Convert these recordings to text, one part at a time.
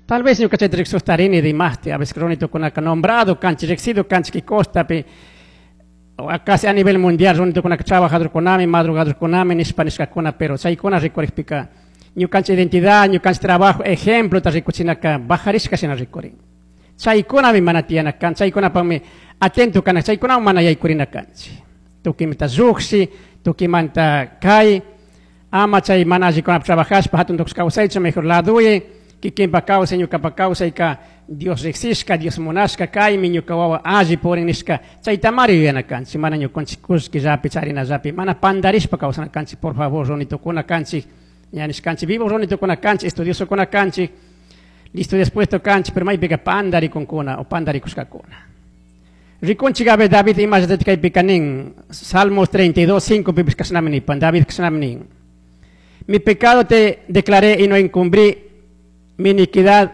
Tal vez ñuka chayta riqsustarini dimasti, a veces runitukunaka nombrado kanchik, riqsido kanchik costapi, casi a nivel mundial runitukunaka trabajadorkunami, madrugadorkunami nishpa nishkakuna, pero chaykuna rikurikpika ñukanchik identidad, ñukanchik trabajo, ejemplota rikuchinaka bajarishka shina rikurin. Chaykunami mana tiyana kan, chaykunapakmi atento kana, chaykunawan mana yaykurina kanchik. Tukimanta lluqshi, tukimanta kay, ama chay mana allikunapi trabajashpa hatun tukushka kawsaychu, mejor laduyi, kikinpa kawsay, ñukapa kawsayka Dios riqsishka, Dios munashka, kaymi ñuka wawa alli purin nishka, chaytamari yuyana kanchik, mana ñukanchik kullkillapi charinallapi, mana pandarishpa kawsana kanchik, por favor, runitukuna kanchik, ña nishkanchik, vivo runitukuna kanchik, estudiosokuna kanchik, listo dispuesto kanchik, pero maypika pandarikunkuna o pandarikushkakuna. Rikunchik a ver David imallata kaypika nin, Salmos 32, 5 pipis kashnami nipan, David kashnami nin. Mi pecado te declaré y no encubrí mi iniquidad.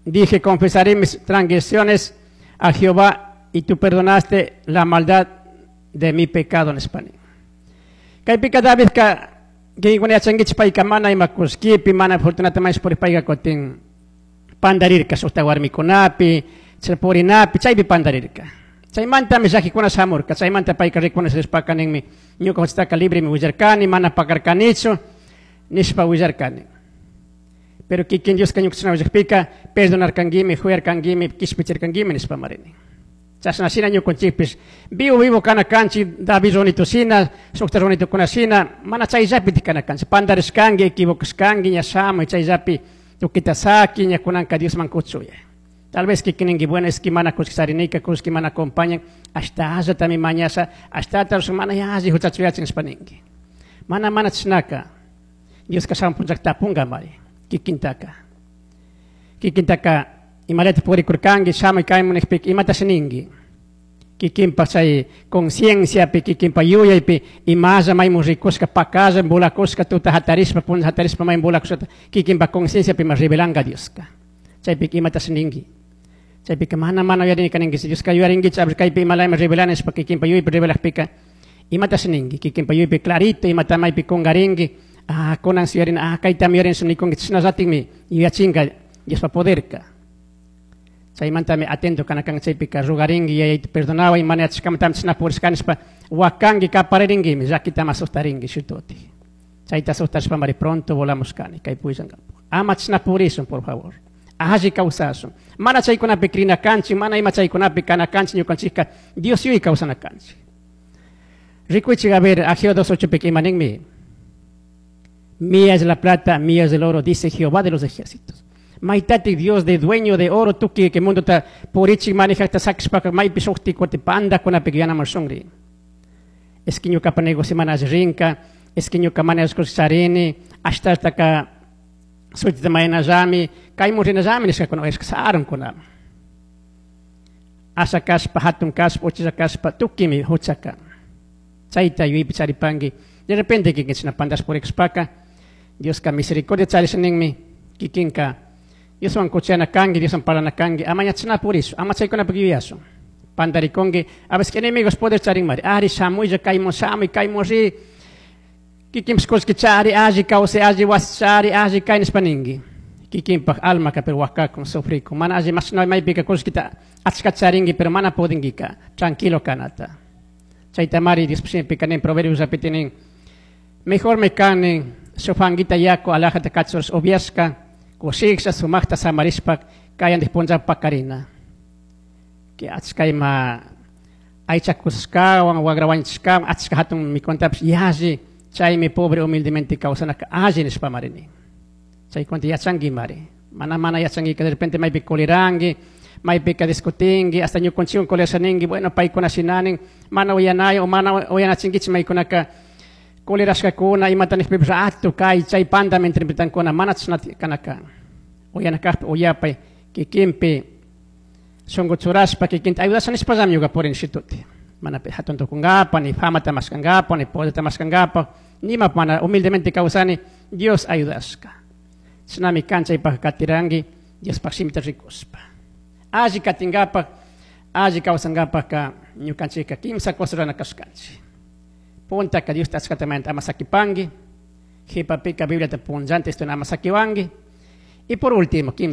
Dije, confesaré mis transgresiones a Jehová y tú perdonaste la maldad de mi pecado en España. Kaypika David ka kinkuna yachankichik payka mana ima kullkipi, mana fortunatamente por payka kutin pandarirka sukta warmikunapi, chay purinapi, chaypi pandarirka. Chaymantami llakikuna shamurka, chaymanta payka reconocerishpaka ninmi, ñuka huchataka libremi willarkani, mana pakarkanichu, nishpa willarkani. Pero kikin Dioska ñuka willakpika, perdonarkanguimi, juyarkanguimi, kishpichirkanguimi nishpa marini. Chashna shina ñukanchikpish, vivo vivo kana kanchik, David runitu shina, sukta runitukuna shina, mana chayllapi kana kanchik, pandarishkanki, equivocashkanki, ña shamuy chayllapi tukita saki, ña kunanka Diosman kuchuya. Tal vez kikininki, bueno, es que mana kullki charinika, kullki mana acompañan, hasta allatami mañasha, hasta mana yalli huchachuyachin nishpa ninki. Mana mana chishnaka, Dioska shamun punllaka tapunga mari, kikintaka. Kikintaka, imalata purikurkanki, shamuy kaymun nijpika, imatashi ninki. Kikinpa chay concienciapi, kikinpa yuyaypi, imalla maymun rikushka, pakalla, volakushka, tuta hatarishpa, punlla hatarishpa, maymun volakushkata, kikinpa concienciapi ma revelanga Dioska. Chaypika imatashi ninki. Chaypika mana mana uyarini ninki, Dioska yuyarinkichik, a ver kaypi imalayman revelani nishpa kikinpa yuyaypi revelakpika, imatashi ninki, kikinpa yuyaypi clarito, imata maypi kungarinki, ah, kunan yuyarina, ah, kaytami yuyarini nikunki, chashnallatikmi yuyachinka Diospa poderka. Chaymantami atento kana kan chaypika rugarinki, yayayta perdonaway, mana yachashkamantami chashna purishkani nishpa wakanki, kaparirinki, llakitama asustarinki shututi. Chayta asustashpa mari pronto volamos kani, kay puyllankapuk. Ama chashna purishun, por favor. Alli kawsashun. Mana chaykunapi krina kanchik, mana ima chaykunapi kana kanchik, ñukanchikka Dios yuy kawsana kanchik. Rikuychik, a ver, Ageo 2.8 ima ninmi. Mía es la plata, mía es el oro, dice Jehová de los ejércitos. Maitati Dios de dueño de oro, tuki que mundo ta purichik manejakta sakishpaka maypi shukti kuti panda kunapi yana marshungri. Es que ñuka negocio mana rinka, es que ñuka mana charini, hasta ka suitita mayanallami, kaymun rinallami nishkakuna, es que sarun kuna. Asha kashpa, hatun kashpa, uchilla kashpa, tukimi huchaka. Chayta yuyaypi charipanki. De repente kikin chashna pandash purikushpaka, Dioska misericordia charisha ninmi, kikinka Dioswan kuchana kanki, Dioswan parlana kanki, ama ña chashna purishu, ama chaykunapi yuyashun. Pandarikunki, a veces enemigos poder charin mari, ari shamuylla, kaymun shamuy, kaymun ri, kikinpish kullki chari, alli kawsay, alli wasi chari, alli kay nishpa ninki. Kikinpak almaka pero wakakun, sufrikun, mana alli mashna maypika kullkita achka charinki, pero mana pudinkika, tranquilo kanata. Chayta mari Dios shimipika nin, Proverbios nin, mejor me kanin, shuk fanguita yaku alajata kachurish upiashka, kushiksha sumakta samarishpa kayandik punlla pakarina. Que achka ima aycha kusashkawan, wagra wañuchishkawan, achka hatun mikuntapish yalli, chaymi pobre humildemente kawsanaka alli nishpa mari nin. Chaykunata yachanki mari. Mana mana yachanki, de repente maypi coliranki, maypika discutinki, hasta ñukunchikwan colerasha ninki, bueno, paykuna shinanin, mana uyanay o mana uyanachinkichik maykunaka colerashkakuna, imata nishpipish rato kay chay pandami interpretankuna, mana chashna kanaka. Uyana kajpi uyapay, kikinpi shunku churashpa, kikinta ayudasha nishpallami ñuka purini shituti. Mana hatun tukunkapa, ni famata mashkankapa, ni poderta mashkankapa, nima mana humildemente kawsani, Dios ayudashka. Chashnami kan chaypak katiranki, Diospaj shimita rikushpa. Alli katinkapak, alli kawsankapaka ñukanchikka kimsa cosa rurana kashkanchik. Puntaka Diosta achkatamanta ama sakipanki, jipapika Bibliata punllanta estudiana ama sakiwanki, y por último, kimsa